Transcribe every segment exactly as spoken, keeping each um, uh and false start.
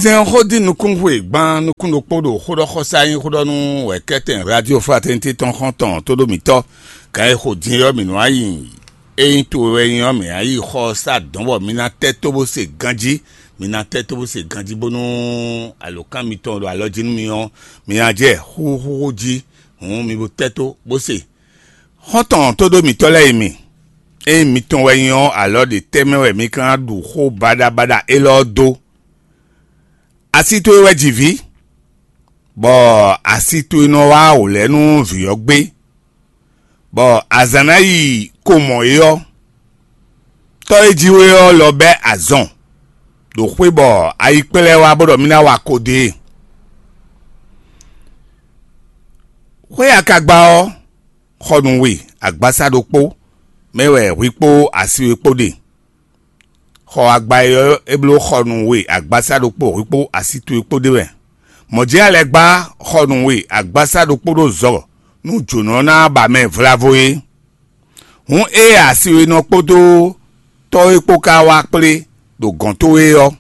Zɛn xó dín nukúnxwe gban nukún ɖokpó ɖo xóɖɔxɔsá nyí xóɖɔnú wɛ̌kɛ́tɛn Radio Fraternité tɔn xɔ́ntɔn tóɖómǐtɔ́. Gǎn e xo din ɔ́ mǐ nɔ wá yi. Ényí towe wɛ nyí ɔ́, mǐ ná yi xɔ sá dɔ̌n bɔ mi ná tɛ́ tó bó se ganjí. Mi ná tɛ́ tó bó se ganjí bónú alǒkan mitɔn ɖo alɔ jí nú mi ɔ́, mi ná jɛ xúxúxú jí. Hǔn mi bo tɛ́ tó bó se. Xɔ́ntɔn tóɖómǐtɔ́ lɛ́ɛ e mi, ényí mitɔn wɛ nyí ɔ́, alɔ ɖe tɛ́ mɛ wɛ mi ka ná ɖu xó baɖabaɖa élɔ́ ɔ́ dó? Asi towe wɛ ji vǐ, bɔ asi towe nɔ wá wǒ lɛ́ɛ nú vǐ ɔ́ gbé, bɔ azǎn ná yi ko mɔ é ɔ́, tɔ́ e jí we ɔ́ lɔ bɛ́ azɔn ɖo xwé bɔ ayi kplɛ́ wá bó ɖɔ mì ná wa ko dó e. Xwé akagba ɔ́, xɔ nǔ we agbasa ɖokpó mɛ wɛ hwi kpó asi we kpó ɖe. Xɔ agba e ɔ́, é bló xɔ nǔ we agbasa ɖokpó hwi kpó asi towe kpó ɖe wɛ. Mɔ̌ jɛ́n a lɛ́ gbá xɔ nǔ we agbasa ɖokpó ɖo zɔ nú jǒnɔ ná ba mɛ vlavo é. Hǔn ée asi we nɔ kpódó tɔ́ é kpó ka wá kplé ɖo gɔ̌n towe ɔ́,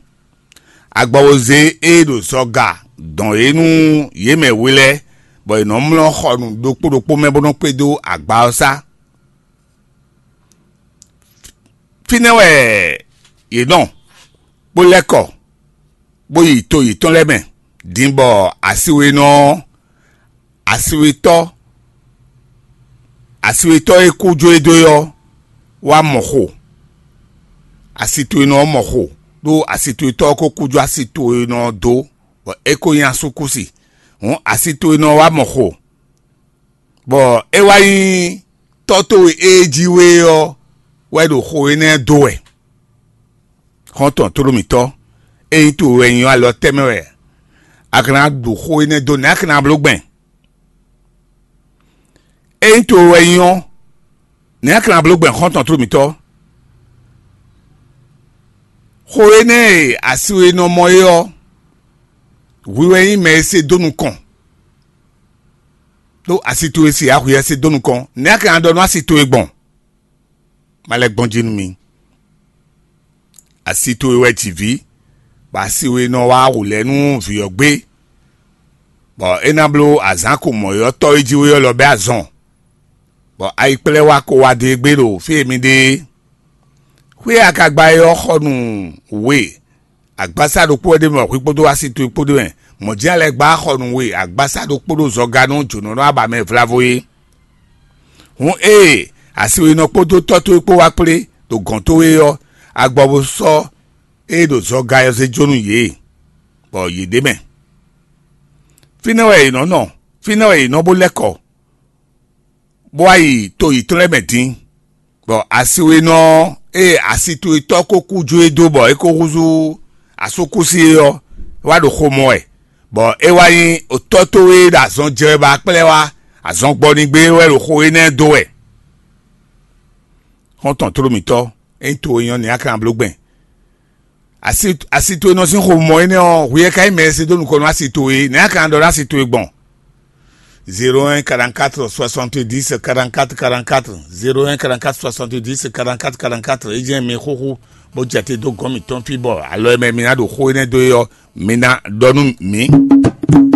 agbawozé e ɖo zɔga dɔn é nú yě mɛ we lɛ́ɛ, bɔ è nɔ mlɔ́ xɔ nǔ ɖokpó ɖokpó mɛ bó nɔ́ kpédó agba ɔ́ sá. Fínɛ́ wɛ yě nɔ, bó lɛ́ kɔ, bó yi to yětɔn lɛ́ɛ mɛ. Din bɔ asiwénɔ ɔ́, asiwétɔ́, asiwétɔ́ e kú jó e dó é ɔ́, wá mɔ xo. Asi towe nɔ ɔ́ mɔ xo, ɖó asi towe tɔ́ ɔ́ ko kú jó asi towe nɔ ɔ́ dó, bɔ é ko nyí asúkúsi. Hǔn asi towe nɔ ɔ́ wá mɔ xo, bɔ é wá nyí tɔ́ towe e jí we ɔ́ wɛ ɖo xo énɛ́ dó wɛ. Xɔ́ntɔn tlóló mǐtɔn, ényí towe wɛ nyí ɔ́, alɔ tɛ́ mɛ wɛ a ka ná ɖu xó énɛ́ dó, nɛ̌ a ka ná bló gbɛn? Ényí towe wɛ nyí ɔ́, nɛ̌ a ka ná bló gbɛn, xɔ́ntɔn tlóló mǐtɔn? Xó énɛ́ e asi we nɔ mɔ é ɔ́, hwi wɛ nyí mɛ e se dó nukɔn, ɖó asi towe se ǎ, hwi wɛ se dó nukɔn. Nɛ̌ a ka ná ɖɔ nú asi towe gbɔn? Ma lɛ́ gbɔn jí nú mi. Asi towe wɛ ji vǐ, bɔ asi we nɔ wá wǔ lɛ́ɛ nú vǐ ɔ́ gbé, bɔ é ná bló azǎn ko mɔ̌yɔ́tɔ́ e jí we ɔ́ lɔ bɛ́ azɔn, bɔ ayikplɛ́wa ko wá dó e gbé ɖo fí e mi ɖe é. Xwé akagba e ɔ́ xɔ nǔ we agbasa ɖokpó wɛ ɖ'é mɛ, hwi kpódó asi towe kpó ɖ'é mɛ. Mɔ̌ jɛ́n a lɛ́ gbá xɔ nǔ we agbasa ɖokpó ɖo zɔga nú jǒnɔnɔ aba mɛ vlavo é. Hǔn ée asi we nɔ kpódó tɔ́ towe kpó wá kplé ɖo gɔ̌n towe ɔ́, agbɔ bo sɔ́ ée ɖo zɔga ɔ́ zé jó nú yě, bɔ yě ɖ'é mɛ. Fínɛ́ wɛ yě nɔ nɔ, fínɛ́ wɛ yě nɔ bó lɛ́ kɔ, bó wá yi to yětɔn lɛ́ɛ mɛ din, bɔ asiwénɔ ɔ́, ée asi towe tɔ́ ko kú jó e dó bɔ é ko húzú asúkúsi é ɔ́, é wá ɖo xomɔ wɛ, bɔ é wá nyí tɔ́ towe e ɖo azɔn jɛ wɛ bɔ a kplá ɛ wá azɔn gbɔ n'i gbé wɛ ɖo xo énɛ́ dó wɛ. Xɔ́ntɔn tlóló mǐtɔn, ényí towe nyɔ́ nɛ̌ a ka ná bló gbɛn? Asi asi towe nɔ sín xomɔ énɛ́ ɔ́, hwi e ka nyí mɛ e se dó nukɔn nú asi towe é, nɛ̌ a ka ná ɖɔ nú asi towe gbɔn? Zéro un quarante-quatre soixante-dix quarante-quatre quarante-quatre, zéro un quarante-quatre soixante-dix quarante-quatre quarante-quatre. É jɛ́n mi xúxú bó jɛ te dó gɔ̌n mǐtɔn fí bɔ alɔ e mɛ mi ná ɖo xó énɛ́ dó é ɔ́, mi ná ɖɔ nú mǐ.